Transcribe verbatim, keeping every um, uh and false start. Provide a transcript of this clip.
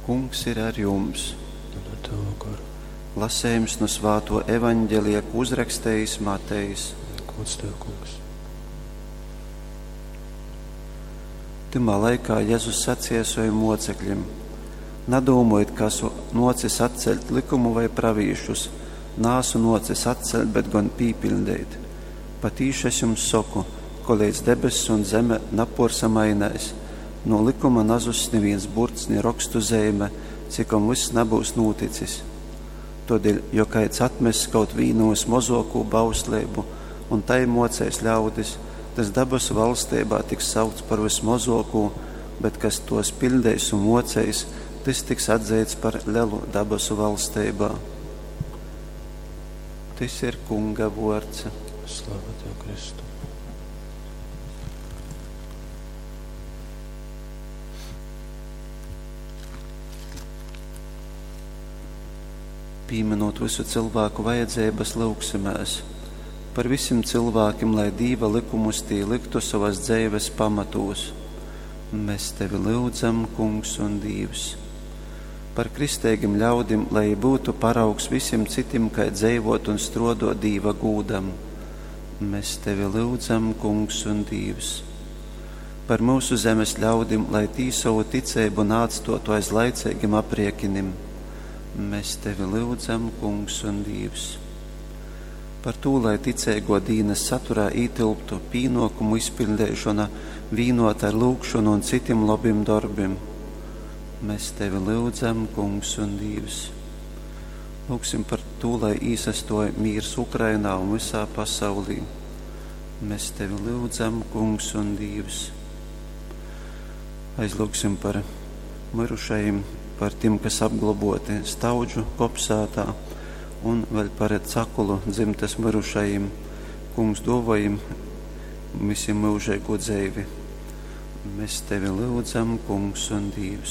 Kungs ir ar jums! Un ar tavu goru. Lasējums no svāto evaņģelija, ko uzrakstījis Matejs. Gods tev, Kungs. Tymā laikā Jēzus sacīja saviem mocekļiem: Nadūmojiet, ka esmu nocis atceļt likumu vai pravīšus. Nāsu nocis atceļt, bet gan pīpildīt. Patīši es jums saku, kolīdz debesis un zeme naporsamainēs, no likuma nazuss neviens burts, ni rokstu zeime, cikom viss nebūs noticis. Todēļ, jo kāds atmess kaut vīnu vismazāko bauslību un tai mocēs ļaudis, tas dabasu valstībā tiks saukts par vismazāko, bet kas tos pildīs un mocēs, tas tiks atzīts par lielu dabasu valstībā. Tas ir Kunga vārds. Slava tev, Kristu. Pieminot visu cilvēku vajadzības, lūgsimies par visiem cilvēkiem, lai Dīva likumus tī liktu savas dzīves pamatos. Mēs tevi lūdzam, Kungs un Dievs. Par kristīgiem ļaudim, lai būtu paraugs visiem citiem, kā dzīvot un strodot Dīva gūdam. Mēs tevi lūdzam, Kungs un Dievs. Par mūsu zemes ļaudim, lai tī savu ticību nāctotu aiz laicīgiem apriekinim. Mēs tevi lūdzam, Kungs un Dievs. Par to, lai ticīgo dīnas saturā ītilptu pīnokumu izpildīšana, vīnot ar lūgšanu un citiem labiem darbiem. Mēs tevi lūdzam, Kungs un Dievs. Lūgsim par to, lai īsastoja mīrs Ukrainā un visā pasaulī. Mēs tevi lūdzam, Kungs un Dievs. Aizlūgsim par mirušajiem, par tiem, kas apglaboti Staudžu kopsētā, un vēl par Cakulu dzimtes mirušajiem. Kungs dovajim visiem mūžīgo dzīvi. Mēs tevi lūdzam, Kungs un Dievs.